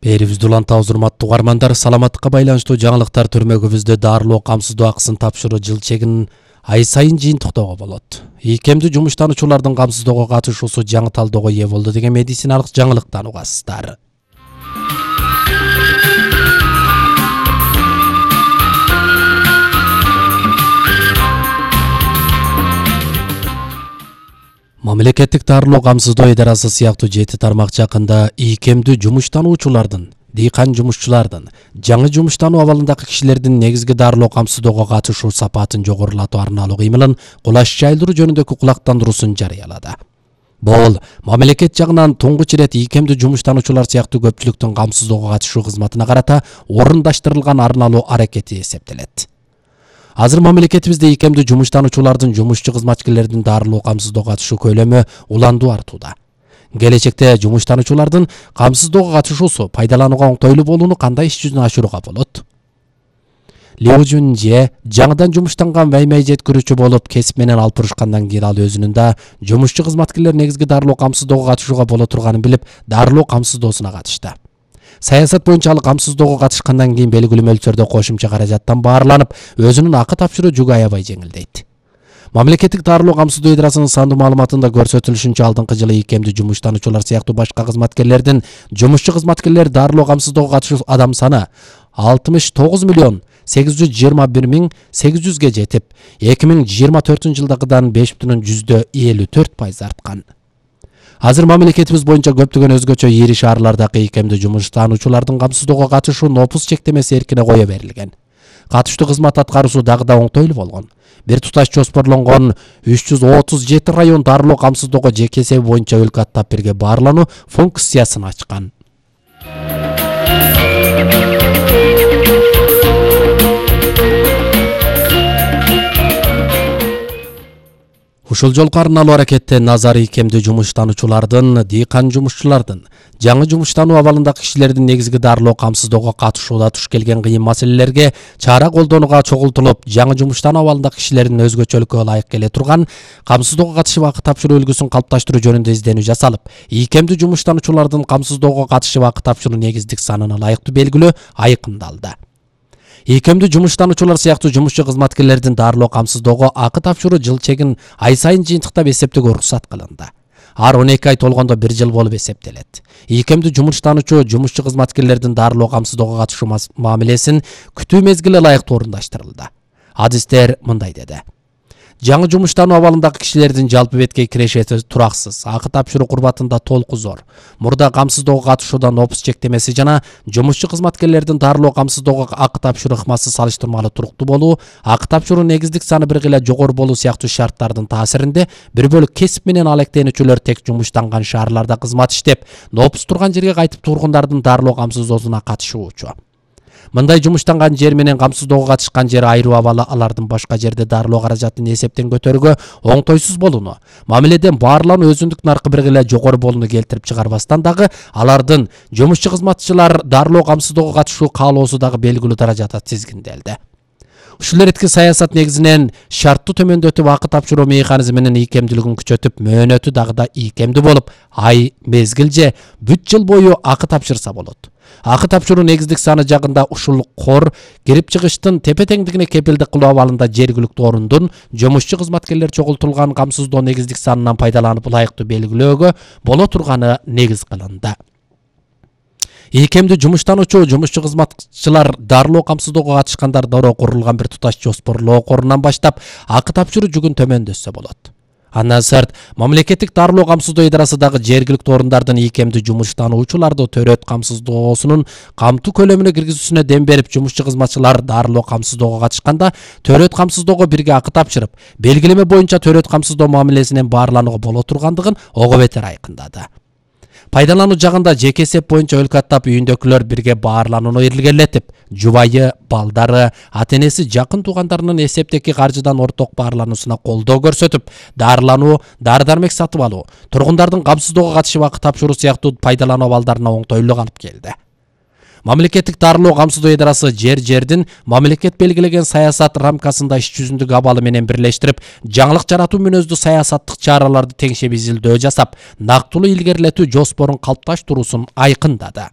Берибизди улантабыз, урматтуу угармандар. Саламаттыкка байланыштуу жаңылыктар төрмөгүбүздө дарылоо камсыздоо акысын тапшыруу жыл чегин ай сайын жыйынтыктоого болот. Ийкемдүү жумуштануучулардын камсыздоого катышуусу жаңы талоого ээ болду деген медициналык жаңылыктан угасыздар. Мамлекеттик дарылоо камсыздоо идарасы сыяктуу 7 тармак жакында ийкемдүү жумуштануучулардын, дыйкан жумушчулардын, жаңы жумуштануу абалындагы кишилердин негизги дарылоо камсыздоого катышуу сапатын жогорулатуу арналуу кыймылын кулаш жайылдыруу жөнүндөгү кулактандыруусун жарыялады. Бул мамлекет жагынан туңгуч ирет ийкемдүү жумуштануучулар сыяктуу көпчүлүктүн камсыздоого катышуу кызматына карата орундаштырылган арналуу аракети эсептелет. Азыр мамлекетибизде ийкемдүү жумуштануучулардын, жумушчу кызматкерлердин дарылоо камсыздоого катышуу көйлөмү уландуу артууда. Келечекте жумуштануучулардын камсыздоого катышуусу пайдаланууга оңтойлуу болууну кандай иш жүзүнө ашырууга болот? Лиу Жунже жаңыдан жумуштанган ваймай жеткирүүчү болуп, кесип менен алпырышкандан кийин ал өзүнүн да жумушчу кызматкерлер негизги дарылоо камсыздоого катышууга боло турганын билип, дарылоо камсыздоосуна катышты. Саясат боюнча ал камсыздоого катышкандан кийин белгилүү мөлчөрдө кошумча каражаттан баарланып, өзүнүн акы тапшыруу жүгү аябай жеңилдейт. Мамлекеттик дарылоо камсыздоо идарасынын сандуу маалыматында көрсөтүлүшүнчө, алдыңкы жылы ийкемдүү жумуштануучулар сыяктуу башка кызматкерлердин жумушчу кызматкерлер дарылоо камсыздоого катышуу адам саны 69.821.800ге жетип, 2024-жылдагыдан 5,54% арткан. Азыр мамлекетибиз боюнча көптөгөн өзгөчө ири шаарлардагы ийкемдүү жумуштануучулардын камсыздоого катышуу нопус чектемеси эркине кое берилген. Катыштуу кызмат аткаруусу дагы да оңтойлуу болгон. Бир туташ жоспорлонгон 337 район дарылоо камсыздоого жеке эсеби боюнча өлкө аттап бирге баарлануу функциясын ачкан. Ушул жолку арналуу аракетте назар ийкемдүү жумуштануучулардын, дыйкан жумушчулардын, жаңы жумуштануу абалындагы кишилердин негизги дарылоо камсыздоого катышууда туш келген кыйын маселелерге чара колдонууга чогултулуп, жаңы жумуштануу абалындагы кишилердин өзгөчөлүккө ылайык келе турган камсыздоого катышып акы тапшыруу үлгүсүн калыпташтыруу жөнүндө изденүү жасалып, ийкемдүү жумуштануучулардын камсыздоого катышып акы тапшыруу негиздик санына ылайыктуу белгилөө айкындалды. Ийкемдүү жумуштануучулар сыяктуу жумушчу кызматкерлердин дарылоо камсыздоого акы тапшыруу жыл чегин ай сайын жыйынтыктап эсептөөгө уруксат кылынды. Ар 12 ай толгондо 1 жыл болуп эсептелет. Ийкемдүү жумуштануучу жумушчу кызматкерлердин дарылоо камсыздоого катышуу мамилесин күтүү мезгили ылайыктуу орундаштырылды. Адистер мындай деди: жаңы жумуштануу абалындагы кишилердин жалпы беткей кирешети тураксыз, акы тапшыруу курбатында толку зор. Мурда камсыздоого катышууда нопус чектемеси жана жумушчу кызматкерлердин дарылоо камсыздоого акы тапшыруу ыкмасы салыштырмалуу туруктуу болуу, акы тапшыруу негиздик саны бир кыйла жогору болуу сыяктуу шарттардын таасиринде бир бөлүк кесип менен алектенүүчүлөр тек жумуштанган шаарларда кызмат иштеп, нопус турган жерге кайтып тургундардын дарылоо камсыздоосуна катышуучу. Мындай жумуштанган жер менен камсыздоого катышкан жер айруу абалы алардын башка жерде дарылоо каражатын эсептен көтөрүүгө оңтойсуз болууну, мамиледен баарлануу өзүндүк наркы бир кыйла жогору болууну келтирип чыгарбастан дагы алардын жумушчу кызматчылар дарылоо камсыздоого катышуу каалоосу дагы белгилүү даражада тизгинделди. Ушул эретки саясат негизинен шарттуу төмөндөтүп акы тапшыруу механизминин ийкемдүүлүгүн күчөтүп, мөөнөтү дагы да ийкемдүү болуп, ай, мезгил же бүт жыл бою акы тапшырса болот. Акы тапшыруу негиздик саны жагында ушул кор кирип чыгыштын тепе-теңдигине кепилдик кылуу абалында жергиликтүү орундун жумушчу кызматкерлер чогултулган камсыздоо негиздик санынан пайдаланып ылайыктуу белгилөөгө боло турганы негиз кылынды. Ийкемдүү жумуштануучу, жумушчу кызматчылар дарылоо камсыздоого катышкандар доро курулган бир туташ жоспорлоо корунан баштап акы тапшыруу жүгүн төмөндөтсө болот. Андан сырт, мамлекеттик дарылоо камсыздоо идарасы дагы жергиликтүү орундардын ийкемдүү жумуштануучуларды төрөт камсыздоосунун камтуу көлөмүнө киргизүүсүнө дем берип, жумушчу кызматчылар дарылоо камсыздоого катышканда төрөт камсыздоого бирге акы тапшырып, белгилеме боюнча төрөт камсыздоо мамилесинен баарланууга боло тургандыгын ого бетер айкындады. Пайдалануу жагында жеке эсеп боюнча өлкө аттап үйүндөгүлөр бирге баарланууну илгерилетип, жубайы, балдары, ата-энеси, жакын туугандарынын эсептеги каржыдан орток баарлануусуна колдоо көрсөтүп, дарылануу, дары-дармек сатып алуу, тургундардын камсыздоого катышып акы тапшыруу сыяктуу пайдалануу абалдарына оңтойлук алып келди. Мамлекеттик дарылоо камсыздоо идарасы жердин мамлекет белгилеген саясат рамкасында иш жүзүндөгү абалы менен бирлештирип, жаңылык жаратуу мүнөздүү саясаттык чараларды теңшеп изилдөө жасап, нактылуу илгерилетүү жоспорун калыпташтыруусун айкындады.